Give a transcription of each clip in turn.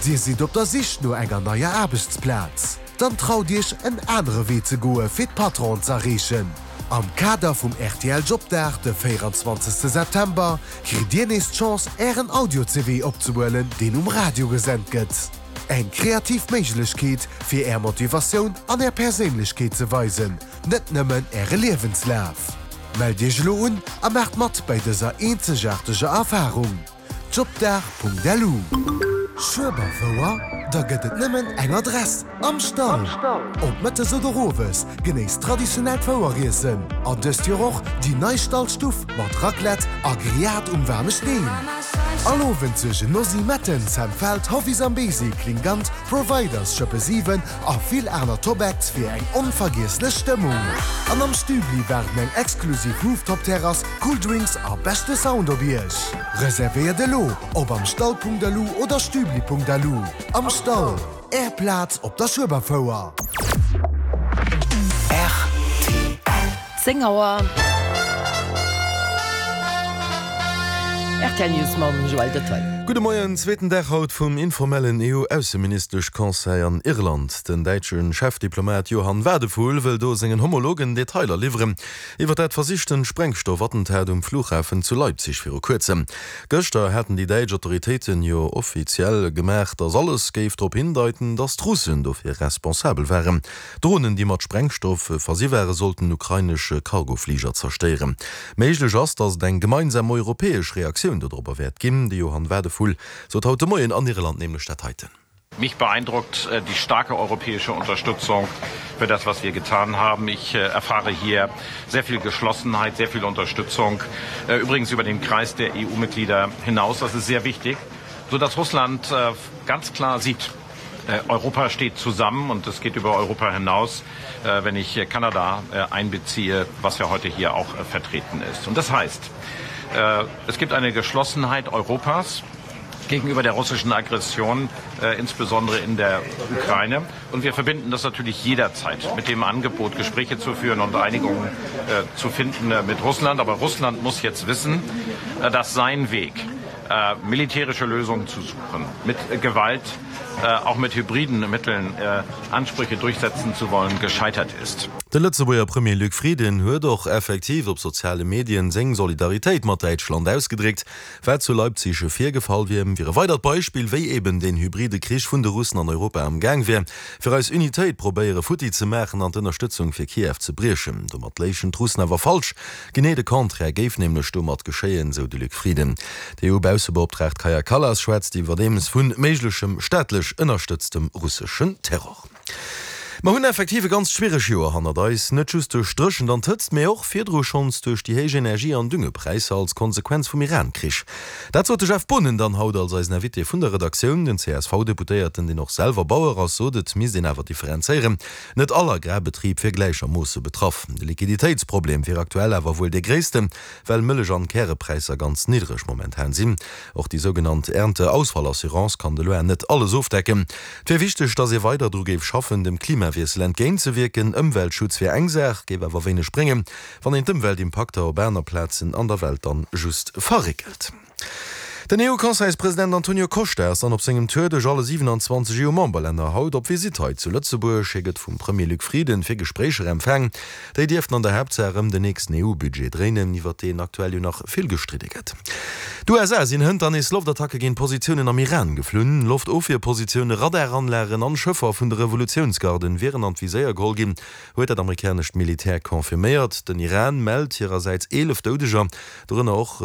Dir sidd op der Sich no enger neier Aarbechtsplaz? Dann traut Iech en anere Wee ze goe fir d'Patronen z'erreechen. Am Kader vum rtl Jobdag de 24 September kritt Dir nees d'Chance Ären Audio-CV opzehuelen deen um Radio gesent gëtt. Eng kreativ Méiglechkeet fir Är Motivatioun an Är Perséinlechkeet ze weisen, net nëmmen Äre Liewenslaf. Mellt Iech elo un a maacht mat bäi dëser eenzegaarteger Erfarung. Jobdag.lu. Schueberfouer? Da gëtt et nëmmen eng Adress, Am Stall! Ob mëttes oder owes, genéisst traditionellt Foueriessen an dëst Joer och déi nei Stallstuff mat Raclette a Grillade um waarme Steen. All Owend suergen Nosy Metten, Sam Feldt, Hovi Zambezi, Klingant, Providers, Schëppe 7 a vill aner Top-Acts fir eng onvergiesslech Stëmmung. An am Stübli waarden eng exklusiv Rooftop-Terrass, cool Drinks a beschte Sound op Iech. Reservéiert elo op amstall.lu oder stübli.lu. Am Stall, Är Plaz op der Schueberfouer. Rtl. 10 Auer. Rtl News mam Joël Detaille. Gudde Moien, Zweeten Dag haut vum informellen EU-Ausseministesch-Conseil an Irland. Den däitsche Chefdiplomat Johann Wadephul wëll do sengen Homologen Detailer liwweren iwwer dat versichten Sprengstoff-Attentat um Flughafen zu Leipzig viru kuerzem. Gëschter haten déi däitsch Autoritéiten jo offiziell gemaach, datt alles géif drop hindeiten, datt d'Russen dofir responsabel waren. Dronen, déi mat Sprengstoff versi ware sollten ukrainesch Cargofliger zerstéieren. Méiglech ass, datt et eng gemeinsam europäesch Reaktioun dodropper wäert ginn. De Johann Wadephul sot haut de Moien an Irland nämlech dat heiten. Mich beeindruckt die starke europäische Unterstützung für das, was wir getan haben. Ich erfahre hier sehr viel Geschlossenheit, sehr viel Unterstützung, übrigens über den Kreis der EU-Mitglieder hinaus. Das ist sehr wichtig, sodass Russland ganz klar sieht, Europa steht zusammen und es geht über Europa hinaus, wenn ich Kanada einbeziehe, was ja heute hier auch vertreten ist. Und das heißt, es gibt eine Geschlossenheit Europas gegenüber der russischen Aggression, insbesondere in der Ukraine. Und wir verbinden das natürlich jederzeit mit dem Angebot, Gespräche zu führen und Einigungen zu finden mit Russland. Aber Russland muss jetzt wissen, dass sein Weg, militärische Lösungen zu suchen, mit Gewalt, auch mit hybriden Mitteln Ansprüche durchsetzen zu wollen, gescheitert ist. De Lëtzebuerger Premier Luc Frieden huet och effektiv op soziale Medien seng Solidaritéit mat Däitschland ausgedréckt. Wat zu Leipzig virgefall wier, wier e weidert Beispill, wéi eben deen hybride Krich vun de Russen an Europa am Gaang wär, fir eis Unitéit probéiere futti ze maachen an d'Ënnerstëtzung fir Kiew ze briechen. Domat léichen d'Russen awer falsch. Genee de Contraire géif nämlech domat geschéien, sou de Luc Frieden. D'EU-Baussebeoptraagt Kaja Kallas schwätzt iwwerdeems vu méiglechem staatlech ënnerstëtztem russeschen Terror. Mer hunn effektiv e ganzt schwiereg Joer hannert eis, net just duerch d'Dréchent an d'Hëtzt, mee och virdru schonns duerch déi héich Energie an Düngepräisser als Konsequenz vum Iran-Krich. Dat sot de Jeff Boonen dann haut als eisen Invité vun der Redaktioun. Den CSV-Deputéierten, deen och selwer Bauer ass, sot, et misst een awer differenzéieren. Net all Agrarbetrib wier gläichermoosse betraff. De Liquiditéitsproblem wier aktuell awer wuel dee gréissten, well Mëllech an Kärepräisser ganz niddreg momentan sinn. Och déi sougenannt Ernteausfallassurance kann de Loin net alles ofdecken. Et wier wichteg, datt ee weider dru géif schaffen, dem Klimawiessel entgéintzewierken. Ëmweltschutz wier eng Saach, géif awer wéineg bréngen, wann een d'Ëmweltimpakter op aner Plazen an der Welt dann just verréckelt. Den EU-Conseilspresident Antonio Costa ass dann op sengem Tour duerch alle 27 EU-Memberlänner haut op Visitt hei zu Lëtzebuerg. Hie gëtt vum Premier Luc Frieden fir Gespréicher empfaang. Déi dierften an der Haaptsaach ëm den nächsten EU-Budget dréinen, iwwer deen aktuell jo nach vill gestridde gëtt. D'USA sinn hënter nees Loftattacke géint Positiounen am Iran geflunn. Loftofwierpositioune, Radaranlagen an Schëffer vun de Revolutiounsgarden wieren an d'Viséier geholl ginn, huet dat amerikanescht Militär confirméiert. Den Iran mellt hirersäits 11 Doudeger. Dorënner och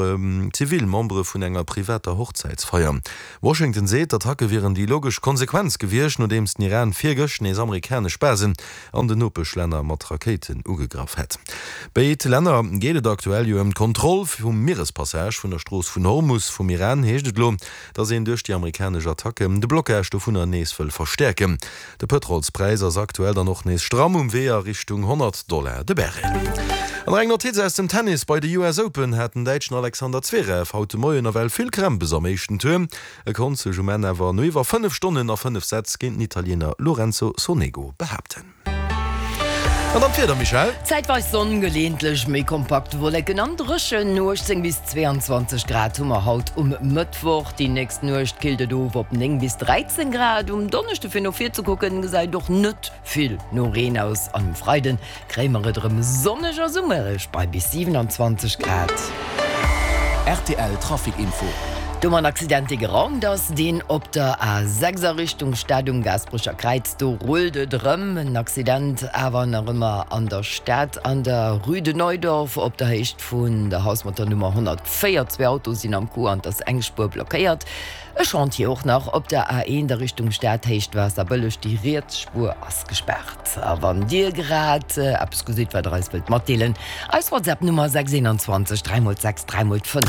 zivil Membere vun enger privater Hochzäitsfeier. Washington seet, d'Attacke wieren déi logesch Konsequenz gewiescht, nodeems den Iran virgëscht nees amerikanesch Basen an den Nopeschlänner mat Rakéiten ugegraff hätt. Béid Länner geet et aktuell jo ëm d'Kontroll vum Mierespassage vun der Strooss vun Hormus. Vum Iran heescht et elo, datt een duerch déi amerikanesch Attacken de Blockage dovunner nees wëll verstäerken. De Pëtrolspräis ass aktuell dann och nees stramm um Wee a Richtung 100 Dollar de Barrel. An nach eng Notiz aus dem Tennis, Bei de US Open hat den Däitschen Alexander Zverev haut de Moien nawell vill Krämpes am éischten Tour. E konnt sech um Enn awer no iwwer 5 Stonnen a 5 Sätz géint den Italiener Lorenzo Sonego behaapten. An dann d'Wieder, Michèle? Zäitweis Sonn, geleeëntlech méi kompakt Wolleken an dréchen. 18 bis 22 Grad hu mer haut um Mëttwoch. Déi nächst Nuecht killt et of op 9 bis 13 Grad. Um Donneschde fir no vir ze kucken, gesäit och net vill no Reen aus an um Freiden Kréie mer et erëm sonneg a summereg bei bis 27 Grad. Rtl Trafic Info. Do mer en Accident dee geraumt ass, deen op der A6 a Richtung Stad um Gaasperecher Kräiz, do rullt et erëm. En Accident awer nach ëmmer an der Stad an der Rue de Neudorf op der Héicht vun der Haus mat der Nummer 104. Zwee Autoe sinn am Coup an et ass eng Spuer blockéiert. E Chantier och nach op der A1 a Richtung Stad, Héicht Waasserbëlleg, déi riets Spuer ass gespaart. A wann Dir grad eppes gesitt, wat Der eis wëllt matdeelen, eis WhatsApp Nummer 6 21 3 x 6 3 x 5.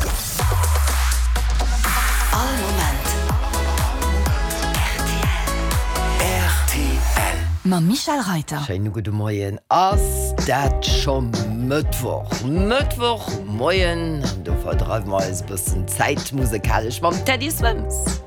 All Moment rtl. Mam Michèle Reiter. Schéine gudde Moien. Ass dat scho Mëttwoch? Mëttwoch Moien, do verdreiwe mer eis e bëssen Zäit musekalesch mam Teddy Swims.